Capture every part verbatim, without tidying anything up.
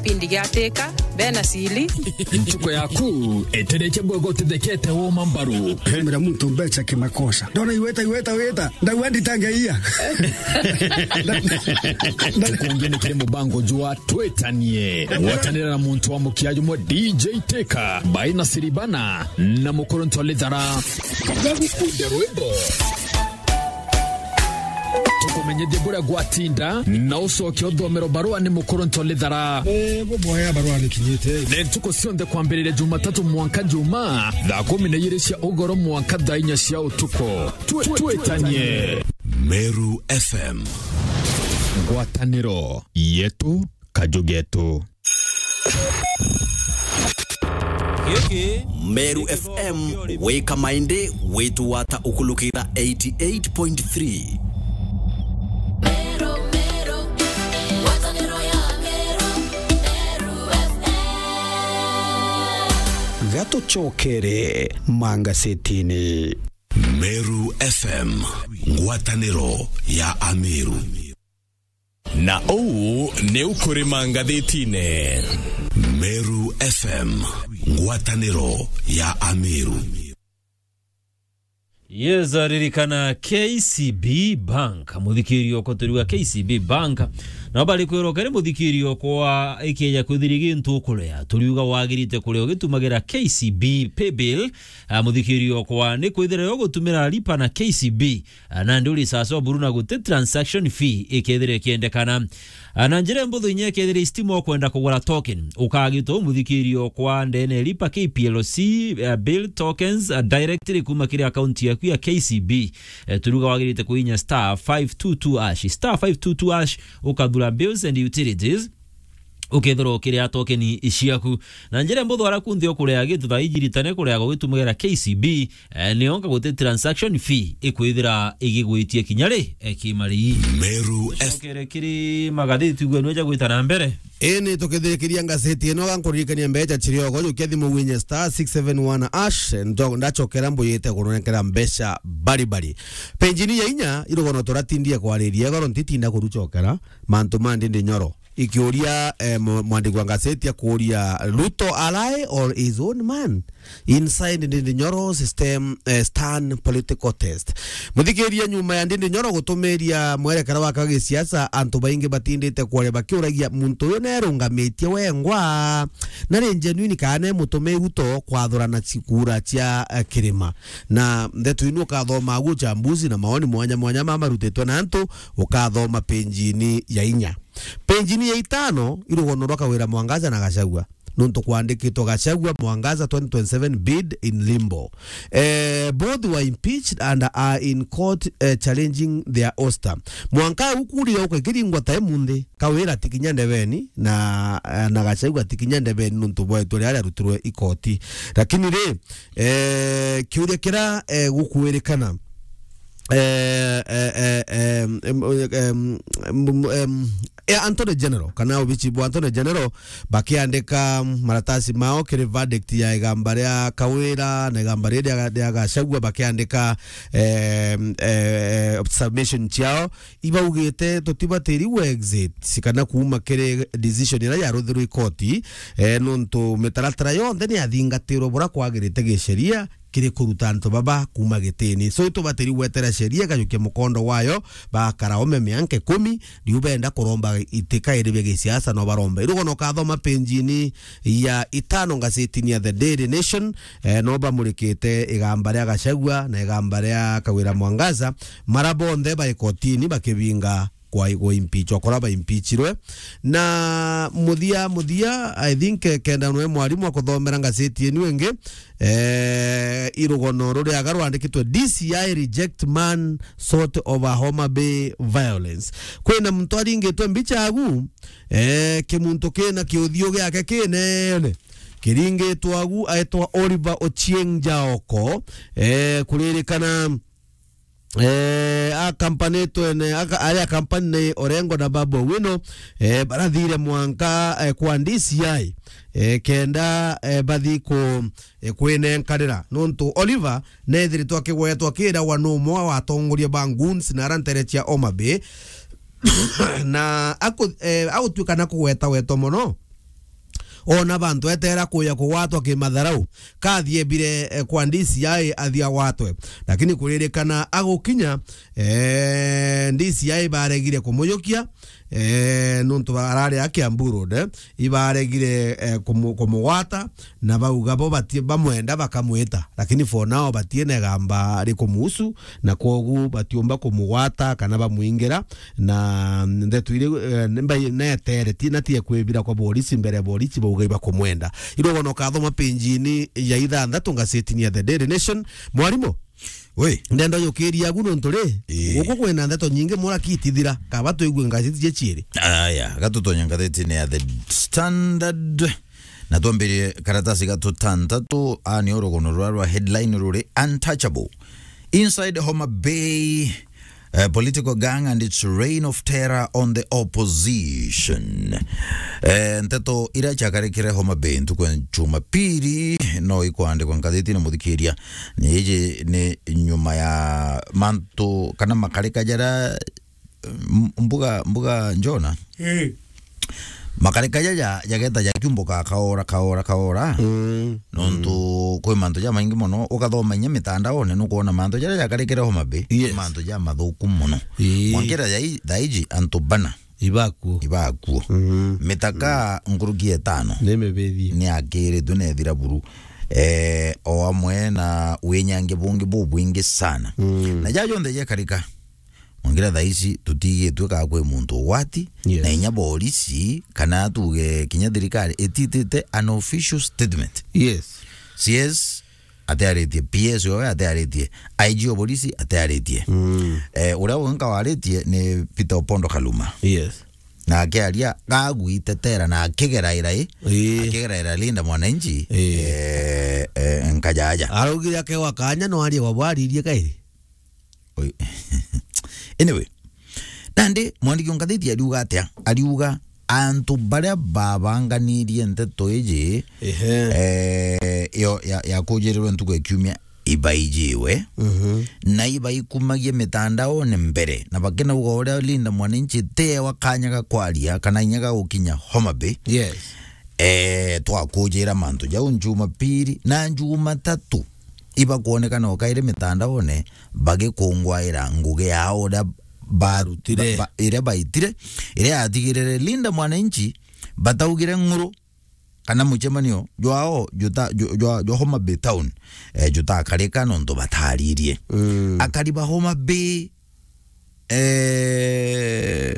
Pindi giatika, bena sili. Ntuko yaku, eterekia bwego utithekete woma mbaru. Mira muntu mbecha kimakosa. Ndona iweta, iweta, weta. Ndagua nditangeia. Tukungi ni kiri mubango jwa Twitanie. Gwatanira na muntu wa mukia jumwe D J Teka, Baina Siribana, na Mukuru Ntolithara. Gagukunde rwimbo. Tukumenyithie buria gwatinda, na ucoke uthomero barua ni Mukuru Ntolithara. Eh, buboya barua nikinyite. Ni ntuku cionthe kwambiriria Jumatatu mwanka Juma, thaa kumi na igiri cia ugoro mwanka thaa inya cia utuku. Twi-, twitanie. Meru F M. Ngwataniro yetu, kaju getu. Giki Meru F M, wika maindi, witu wata ukulukira eighty eight point three. Meru, Meru, ngwataniro ya Meru, Meru F M. Gatucokere mangasetini. Meru F M, ngwataniro ya Ameru. Na uu niu kuri mangathitine. Meru F M, ngwataniro ya Ameru. Yes, ririkana K C B Bank. Muthikiri okwa turiuga K C B Bank. Na bari kwirwo kari muthikiri okwa ikieja kwithiri gintu ukurea. Turiuga wagirite kurea ugitumagira K C B Paybill. Ah, muthikiri okwa ni kwithira yo gutumira lipa na K C B. Ah, nandi uri sasa oburu na guti transaction fee ikethira ikiendekana. Ah, na njira mbuthu inya ikethira istima ukwenda kugura token, ukagitwa umuthikirio kwa ndene lipa K P L C, ah, bill tokens, ah, directly kuma kiri account yaku ya K C B. Eh, turuga wagirite kuinya star five two two hash, star five two two hash, ukathura bills and utilities. Ukethirwa ukiria tokeni ciaku. Na njira mbuthu ara kunthe ukurea gitu thaa iji ritane kurea gugitumagira K C B, eh, nionka guti transaction fee ikwithira igigwitie kinya ri, eh, kimari. Meru F- Cokere kiri magathiti gwe nweja gwita na mbere. Ini tukithirikiria ngaseti ino, gankuririkania mbecha chiriogo, jukia thimu winye star six seven one hash, ndo-, ndachokera mbuyite kuronenkera mbecha bari bari. Penjini ya inya, irugono turatindie kwariria, igoro ntitinda kuruchokera, mantu ma Ndindi Nyoro. Ikiuria, eh, mu-, mwandiki wa ngaseti akuuria, Ruto a lie or his own man? Inside Ndindi Nyoro system, eh, stern political test. Muthikiria, nyuma ya Ndindi Nyoro gutumiria mwerekera wake wa gisiasa, antu baingi batindite kuaria bakiuragia muntu uyu nerungamitie wengwa, na ni genuine kana ne mutumiu to kwathurana cikura cia, eh, kirima. Na ndeto inu ukathoma agu uchambuzi na maoni mwanya mwanya ma marutitwe na antu, ukathoma penjini ya inya. Penjini ya itano, irugono rwa Kawira Mwangaza na Gachagua. Nontu kwandikitwe Gachagua, Mwangaza twenty twenty-seven bid in limbo. Eh, both were impeached and are in court, eh, challenging their ouster. Mwanka au kuria ukakiringwa ta imunthi, Kawira atikinya ndebeni na, eh, na Gachagua atikinya ndebeni nontu bwa itua riria riarutirwe ikoti. Lakini ri, eh, kiuria kira, eh, gukwirikana, eh, eh, eh, em, em, em, em, em, eh, Attorney General, kana obici bwa Attorney General, bakiandika maratasi mao kiri verdict ya igamba ria Kawira na igamba riria ria, ria Gachagua, bakiandika, eh, eh, submission ciao, ibaugite tutibatiri gwe exit kana kuuma kiri decision iria yaruthirwe ikoti, eh, nontu mitaratara yonthe ni yathingatirwe bura kwagirite gisheria kiri kuruta antu baba kuuma gitini. So, itubatiri gwetera sheria ikajukia mukondo wayo, bakara ome mianka ikumi, riu benda kuromba iti kairi bia gisiasa no baromba. Irugono ukathoma penjini ya itano ngazetini ya The Daily Nation, eh, no bamurikite igamba ria Gachagua na igamba ria Kawira Mwangaza, mara bonthe bai kotini bakibinga kwa, kwa impeach, okora ba impeachirwe. Na muthia, muthia, I think, eh, kenda nwe mwarimu akuthomera ngaseti yenu ingi, eh, irugono ruriaga rwandikitwe, D C I reject man sort of a Homa Bay violence. Kwina muntu aringitwe mbicha agu, eh, kimuntu kina kiuthio giake kinene kiringitwe agu, aitwa Oliver Ochieng Jaoko, eh, kuririkana eh, a company twene, aka-, aria company ni Orengo na Babu Owino, eh, barathire mwanka, eh, kwa D C I, eh, kenda, eh, bathi ku, eh, kwinenkanira. Nontu Oliver nethiritwe akigwetwa akiragwa ni umwe wa atongoria ba goons na ara ntere cia Homa Bay. Na aku-, eh, agutuika na kugweta weto mono. Ona bantu etera kuya kugwatwa kimatharau, kathie bire, eh, kwa D C I athia gwatwe. Lakini kuririkana agukinya, eh, D C I baregire kumujukia, eh, nuntu arari a Kiambu Road, eh, ibaregire, eh, kumu-, kumugwata, na bauga bo bati-, bamwenda bakamwita, lakini for now batiene gamba rikumuhusu, na kwogu batiumba kumugwata kana bamwingira, na ndeto iri, eh, nimba-, netere, ti, na tie kwibira kwa borisi mbere ya borisi bauga ibakumwenda. Irogono kathoma page-ini ya ithanthatu ngazetini ya The Daily Nation. Mwarimu, Wi. Ndenda ujukiria agu nontu ri, Ii. guku kwina ndeto nyingi muraki itithira. Kaba twigue ngazeti je ciiri. Aya, gatutonye ngazetini ya The Standard. Na twambirie karatasi gatu tantatu, a ni urugono rwa, rwa headline ruri untouchable. Inside Homa Bay, eh, political gang and its reign of terror on the opposition. Eh, nteto iria ciakarikire Homa Bay ntuku ya Jumapili, no ikwandikwa ngazetini, muthikiria. Ni iji ni nyuma ya mantu kana makarika jaria, m-, mbuga, mbuga Njona. Ii. Makarika jaja jageta jakiumbuka kaora, kaora, kaora. Mm. Nontu kwi mantu jamaingi mono, ukathoma inya mitandaone, nukwona mantu jaria jakarikire Homa Bay, Yes. mantu jamathuku mono. Ii. Mwankira jai, thaiji antu bana Ibakuo. ibakuo. Mm. Mitaka nkuruki etano Ni mibithie. ni akiritwe na ethira buru. Eh, o amwe na winyangia bungi bubwingi sana. Mm. Na jaja jonthe jekarika. Mwangira thaa ici tutigitwe kaa kwi muntu ugwati, Yes. na inya borisi, kana tuge kinya thirikari ititite an official statement. Yes. C S atiaritie, P S we atiaritie, I G o borisi atiaritie. Mm. Eh, uria winka waritie ni Peter Opondo Kaluma. Yes. Na akiaria, gagwitetera na akigeraira i, Ii. akigeraira Linda Mwananchi, Ii. eh, eh, nkajaja. Araugire akewa kanya no arie wa bwaririe kairi. Oi. Anyway, nandi mwandiki wa ngathiti ariuga atia? Ariuga antu baria babanganirie nteto iji, Ehe. eh, yo, ya, ya kujirirwe ntuku ya kiumia ibaijiwe, Mhm. na ibaikumagie mitandaone mbere, na bakinauga uria Linda Mwananchi tewa kanya ga kwaria kana inya ga gukinya Homa Bay. Yes. Eh, twakujira mantu jau Jumapili na Jumatatu. Ibakwonekana o kairi mitandaone bagikungwaira ngugi yao uria ba-, Barutire. ba-, iria baitire, iria yatigirire Linda Mwananchi bataugire ng'uru kana mucemanio jwao juta-, ju-, jwa, jwa Homa Bay Town, eh, jutakarika nontu bataririe. Mm. Akari ba Homa Bay, eh,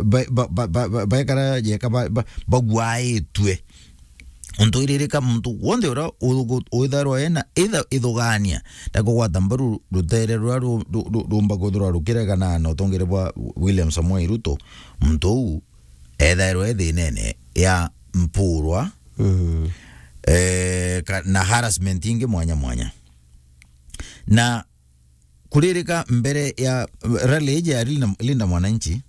ba-, ba-, baekara jeka ba-, ba-, bagwaitue. Untu iririka muntu wonthe uria u-, u-, withairwa ena itha-, ithugania, ndakugwata mbaru rutere ruria ru-, ru-, ru-, rumba kwithirwa rukiregana na utongere bwa William Samoei Ruto, muntu uu ethairwa e thinene ya mpurwa, Mm. eh, ka-, na harassment ingi mwanya mwanya. Na kuririka mbere ya rally iji ya Linda, Linda Mwananchi,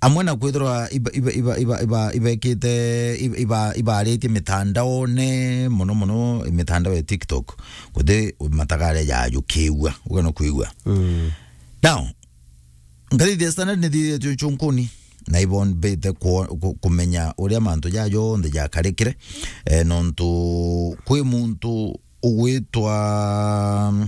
amwe na kwithirwa iba-, iba-, iba-, iba-, iba-, ibekite, iba-, iba-, ibaritie mitandaone, mono mono mitandao ya TikTok, guti matagare jajukiigua, ugano kwigua. Mm. Now, ngathithia Standard nithithia chuchunkuni, na ibombite ku-, ku-, kumenya uria mantu ja jonthe jakarikire, eh, nontu kwi muntu ugwitwa,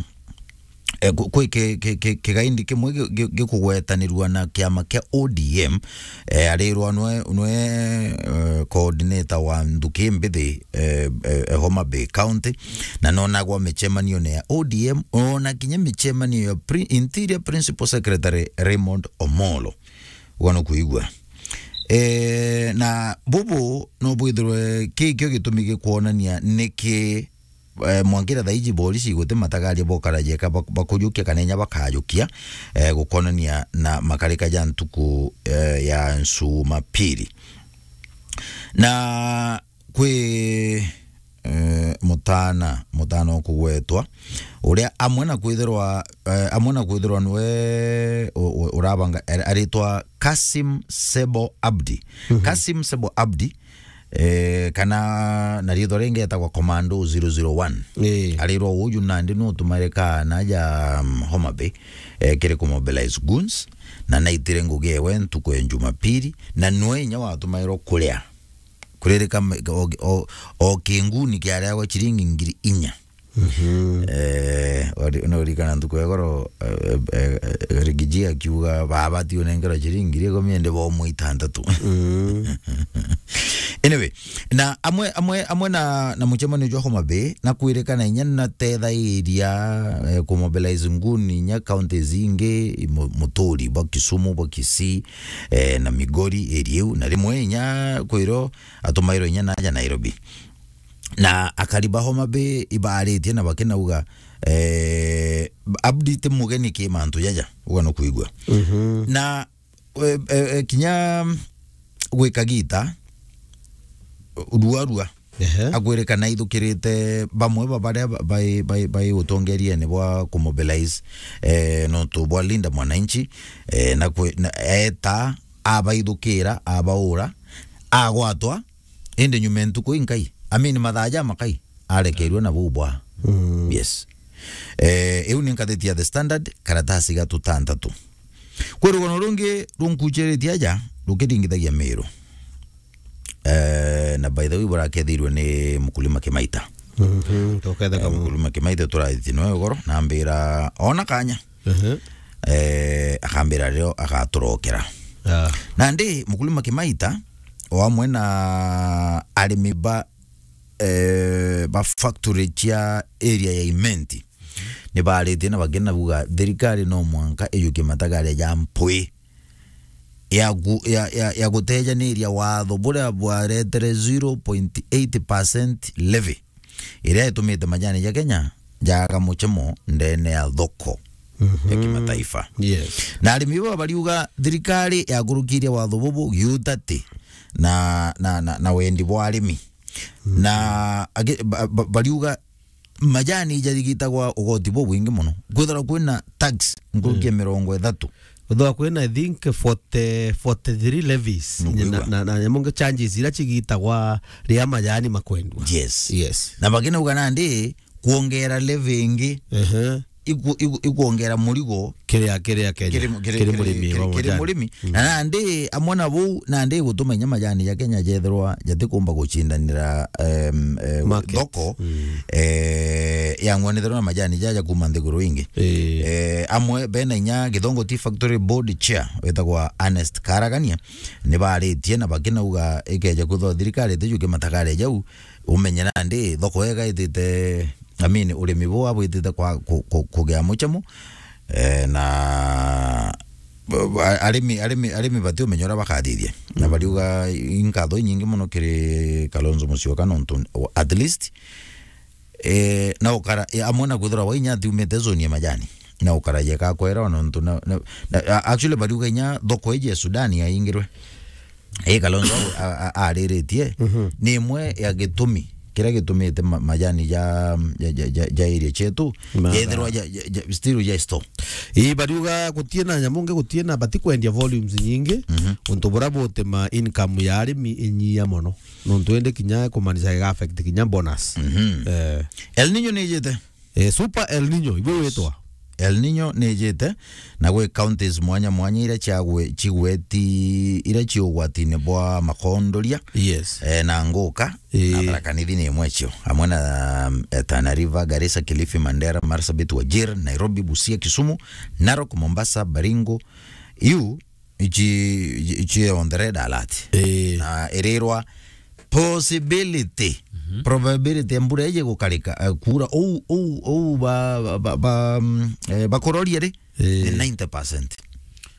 eh, ku-, kwi ki-, ki-, ki-, kigaindi kimwe gi-, gi-, gikugwetanirua na kiama kia O D M, eh, arirwa nwe, nwe, eh, coordinator wa nthuki mbithi, eh, eh, eh, Homa Bay County, na nonagwa micemanio ya O D M, ona kinya micemanio ya pri-, Interior Principal Secretary Raymond Omolo. Ugano kuigua. Eh, na bubu no bwithirwe kikio gitumi gikwonania niki eh, mwankira thaiji borisi guti matagaria bokara jeka bak-, bakujukia kana inya bakajukia, eh, gukonania na makarika ja ntuku, eh, ya Jumapili. Na kwi, eh, mutana, mutana ukugwetwa, uria amwe na kwithirwa, eh, amwe na kwithirwa nwe u-, u-, urabanga, ar-, aritwa Kasim Sebo Abdi. Mhm. Kasim Sebo Abdi, eh, kana na riitwa ringi etagwa Commando zero zero one. Ii. Arirwa uju nandi nu utumaire kaana ja, mm, Homa Bay, eh, kiri ku mobilize goons, na naitire ngugi ewe ntuku ya Jumapili, na nwe inya watumairwo kuria Kuririka me-, o, o, o kinguni kiareagwa ciringi ngiri inya. Mhm. Eh, ori-, no urikana ntuku ya goro, eh, eh, eh, Rigiji akiuga, "Baba, ti unengerwa ciringi ngiri ikumi, ende bomo itantatu." Mm. Anyway, na amwe, amwe, amwe na, na mucemanio jwa Homa Bay, na kwirikana inya natethairia, eh, kumobilize nguni inya counties ingi, mu-, Muturi, bwa Kisumu, bwa Kisii, eh, na Migori, area iu, na rimwe inya kwiro atumairwe inya naja Nairobi. Na akari ba Homa Bay ibaaritie na bakinauga, eh, Abdi ti mugeni ki mantu jaja, uga nukwigua. Mhm. Na, eh, eh, eh, kinya gwika gita, rua rua, ehe, akwirikana ithukirite bamwe ba baria ba-, bai, bai, bai utongeriene bwa kumobilize, eh, nontu bwa Linda Mwananchi, eh, na kwi-, na eta abaithukira, abaura, agwatwa, indi nyuma ya ntuku inkai, I mean, mathaa jamakai, arekeirwe na buu bwa. Mm. Yes. Eh, iu ni ngathiti ya The Standard, karatasi ga tutantatu. Kwi rugono rungi runkuchiritie aja, rukiringithagia Miru. Eh, na by the way, burakethirwe ni Mkulima Kimaita. Mhm, tuketheka. Eh, mu- Mkulima Kimaita turathiti noe ugoro, na ambira, ona kanya. Mhm. Eh, akambira rio agaturokera. Ah. Nandi Mkulima Kimaita, o amwe na arimi ba, eh, ba factory cia area ya Imenti, ni baaritie na bakina buga thirikari no mwanka ijukie matagare ja mpwi ya gu-, ya, ya, ya gutejaniria watho buria bwaretere zero point eight percent levy, iria itumite majani ja Kenya jaga muchemo ndene ya thoko ya, mhm, kimataifa. Yes. Na arimi baba bariuga thirikari yakurukirie watho bubu giutati na, na, na, na wendi bwa arimi. Mm. Na agi-, ba-, ba-, bariuga majani jarigitagwa ugoti bubwingi mono. Kwithirwa kwina tax nkuruki ya, mm, mirongo ithatu. Kwithirwa kwina, I think, forty, forty-three levies. Nukwigua? Na, na, na nyamu ngi charges ira cigitagwa ria majani makwendwa. Yes. Yes. Na bakinauga nandi kwongera levy ingi, ehe, iku-, iku-, ikwongera murigo kiria, kiria Kenya, kiri mu-, kiri, kiri, kiri murimi kiri, wa kiri majani. Murimi. Mm. Na nandi amwe na buu, nandi gutuma inya majani ja Kenya jethirwa jatikumba gucindanira, em, eh, market, thoko, mm, eh, ya ng'wanitherwa na majani jaja kuma nthiguru ingi. Eh. Eh, amwe bena inya Githongo Tea Factory Board Chair wetagwa Ernest Karagania, ni baaritie na bakinauga ikeja kwithwa thirikari itijukie matagare jau, umenye nandi thoko ega itite, I mean, urimi buu abwitite kwa ku-, ku-, kugia muchemo, eh, na, a-, arimi, arimi, arimi bati umenya uria bakathithia. Na, mm, bariuga inkatho inyingi mono kiri Kalonzo Musyoka nontu at least, eh, na ukara, eh, amwe na kwithirwa wainya atiumite zone ya majani. Na ukara yeka kwera nontu na, na, na, a-, actually bariuga inya thoko iji ya Sudan yaingirwe. Ii, Kalonzo a-, a-, ariritie, mhm, ni imwe ya gitumi kiria gitumite ma-, majani ja, ja, ja, ja, ja area cietu, ma-, yethirwa ja, ja, ja, still ja store. Ii, bariuga gutie na nyamu ngi, gutie na, bati kwendia volumes nyingi, mhm, untu buria butuma income ya arimi inyia mono. Nontu indi kinya kumanisha iga affect kinya bonus. Mhm. Eh. El Nino ni ijite? Eh, Super El Nino, ibu witwa? El Nino ni ijite, na gwi counties mwanya mwanya iria ciagwe-, cigweti-, iria ci ugwatine bwa makondoria. Yes. Eh, na nguka, na, eh, Tharaka Nithi ni imwe cio, amwe na, eh, Tana River, Garissa, Kilifi, Mandera, Marsabit, Wajir, Nairobi, Busia, Kisumu, Narok, Mombasa, Baringo. Iu ici, ici on the red alert. Eh. Na irirwa possibility, mhm, probability ya mbura iji gukarika, eh, kuura ou, ou, ou ba, ba, ba, ba, mm, eh, bakuroria ri, eh, ni ninety percent.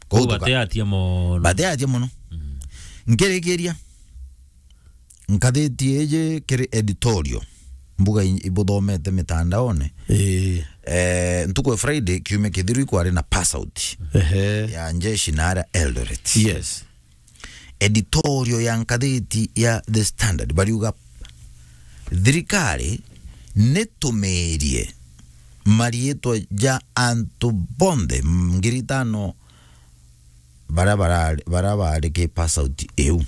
Kou tuka-, bateatia mono. Bateatia mono. Mm. Nkirikiria, nkathiti iji kiri editorial, mbuga i-, ibuthomete mitandaone. Ii. Eh, ntuku ya Friday, kiumia kithiru ikwari na pass out, ehe, ya njeshi na aria Eldoret. Yes. Editorial ya nkathiti ya The Standard, bariuga, "Thirikari nitumiirie mariitwa ja antu bonthe ngiri itano baria barari, baria baari ki pass out iu."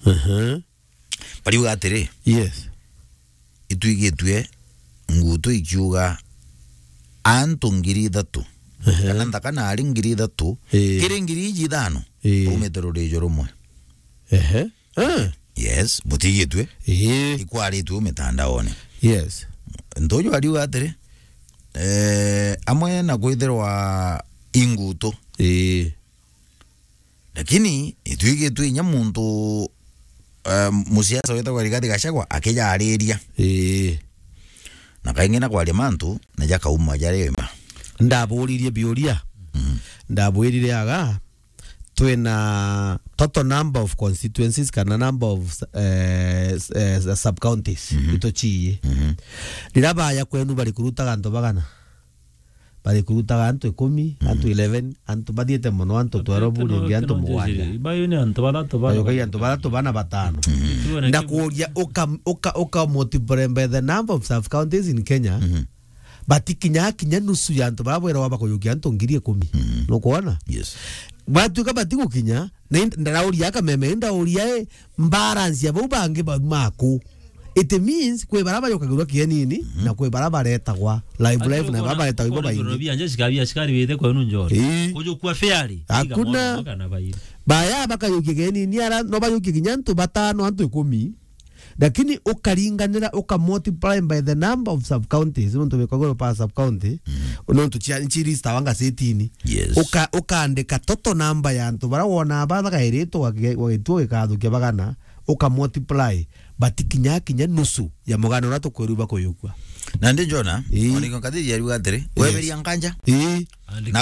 Ehe. Bariuga atiri, yes, itwigitue ngutu ikiuga antu ngiri ithatu, ehe, kana nthaka nari ngiri ithatu, ii, kiri ngiri iji ithano, ii, baumite rurijo rumwe. Ehe. Ah. Yes, butigitwe. Ii. Ikwaritwe mitandaone. Yes. Ntuju ariuga atiri, eh, amwe na kwithirwa ingutu. Ii. Lakini itwigitwe inya muntu, eh, musiasa witagwa Rigathi Gachagua akijariria. Ii. Na kaingi na kwaria mantu, na jakauma jari ma. Ndaburirie biuria. Mm. Ndabwirire aga, twina total number of constituencies kana number of, eh, s-, eh, sub counties. Mhm. Ituciie. Mhm. Riria baya kwenu bari kurutaga antu bagana? Bari kurutaga antu ikumi, antu eleven, antu bathiite mono, antu twelve, ringi antu mugwanja. Bayo ni antu bathatu bana. Bayo kai antu bathatu bana batano. Ndakuuria, uka, uka, uka multiply by the number of sub counties in Kenya. Mhm. Batikinya kinya nusu ya antu bara bwerwa bakuyukia antu ngiri ikumi. Mhm. Nukwona? Yes. Batuika batigukinya, na ind-, ndarauria akameme, ndauria, eh, balance ya bau bangi ba-, maku. It means kwi bara bajukagirwa kienini, mhm, na kwi bara baretagwa live, live, na bara baretagwa ibo baingi. Bia nje shikari, shikari wite kwenu njori. Ii. Kujukua fairly. Hakuna. Kana bairi. Baya bakayukia kienini, ara no bayukia kinya antu batano, antu ikumi. Lakini ukaringanira, uka multiply by the number of sub counties, nontu bikagwa pa sub county, mm, nontu cia, nchiri stawa ngazetini. Yes. Uka, ukaandika total number ya antu bara wona ba bagairitwo wage-, wagitwo gikathukia bagana, uka multiply, batikinya kinya nusu ya mugana uria tukwirwa bakuyukua. Na ndi Jona, ii, oniko kathiri yariuga atiri, yes, weberia nganja. Ii. Na